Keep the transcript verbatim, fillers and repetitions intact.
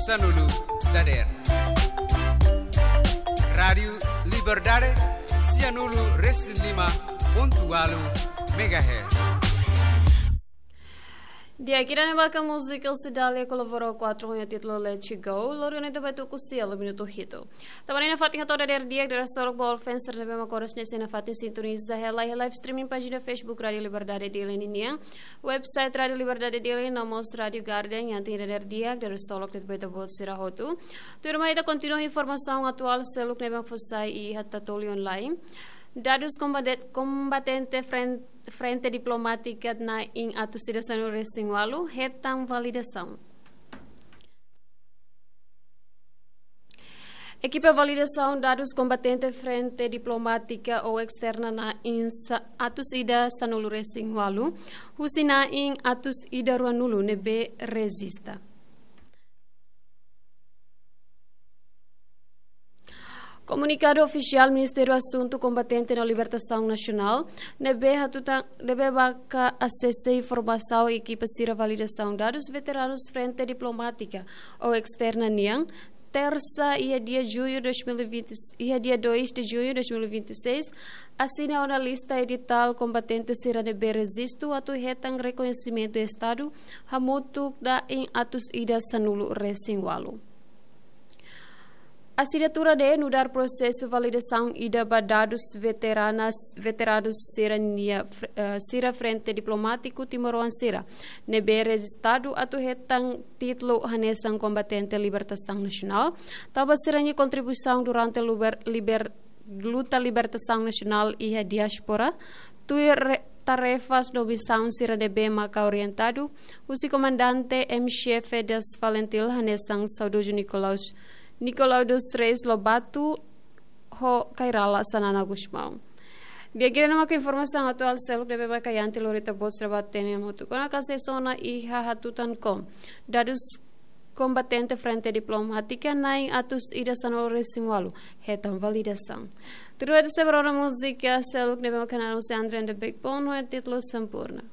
Sanulu dader. Rádiu Liberdade, sianulu resin lima pontu walu megahertz. Di'ak, ida-ne'e maka múzika Cidália kolaborou kuatru ho nia títulu Let It Go, lori ona ita ba tuku sia lo minutu hitu. Tanba ne'e nafatin hato'o dader di'ak, dader solok ba all fans sira ne'ebé mak oras ne'e sei nafatin sintoniza hela iha live streaming pájina Facebook Rádiu Liberdade Dili ninian, website Rádiu Liberdade Dili no mós Rádiu Garden yang tin dader di'ak, dader solok de'it ba ita-boot sira hotu. Tuirmai ita kontinua informasaun atuál seluk ne'ebé mak fó sai iha Tatoli Online. Dadus kombate-, kombatente fren-, Frente Diplomátika na'in atus ida sanulu resin walu hetan validasaun. Ekipa validasaun dadus kombatente Frente Diplomátika ou Esterna na'in sa-, atus ida sanulu resin walu, husi na'in atus ida ruanulu ne'ebé rejista. Komunikadu ofisiál Ministériu Asuntu Kombatente no Libertasaun Nasionál ne'ebé hatutan, ne'ebé maka asese informasaun ekipa sira validasaun dadus veteranus Frente Diplomátika ou Esterna nian, tersa, iha dia junho dois mil e vinte, iha dia dois de junho de dois mil e vinte e seis, asina ona lista editál kombatente sira ne'ebé rejistu atu hetan rekoñesimentu Estadu hamutuk na'in atus ida sanulu resin walu. Asinatura ne'e nu'udar prosesu validasaun ida ba dadus veteranas, veteranus sira-nia fr-, eh, sira Frente Diplomátiku Timoroan sira ne'ebé rejistadu atu hetan títulu hanesan kombatente libertasaun nasionál, tanba sira-nia kontribuisaun durante luber-, liber-, luta libertasaun nasionál iha diáspora, tuir re-, tarefas no misaun sira ne'ebé maka orientadu husi Komandante M Xefe das FALINTIL hanesan saudozu Nicolaus, Nicolau dos Reis Lobato ho Kay Rala Xanana Gusmão. Di'ak, ida-ne'e maka informasaun atuál seluk ne'ebé maka iha ita lori ita-boot sira ba ita-nia mutu. Kona-ba sira ne'ebé iha hatutan kom, dadus kombatente Frente Diplomátika na'in atus ida sanulu resin walu hetan validasaun. Tudu ita sei ba rona múzika seluk ne'ebé maka naran husi Andre and the Backbone ho títulu Sempurna.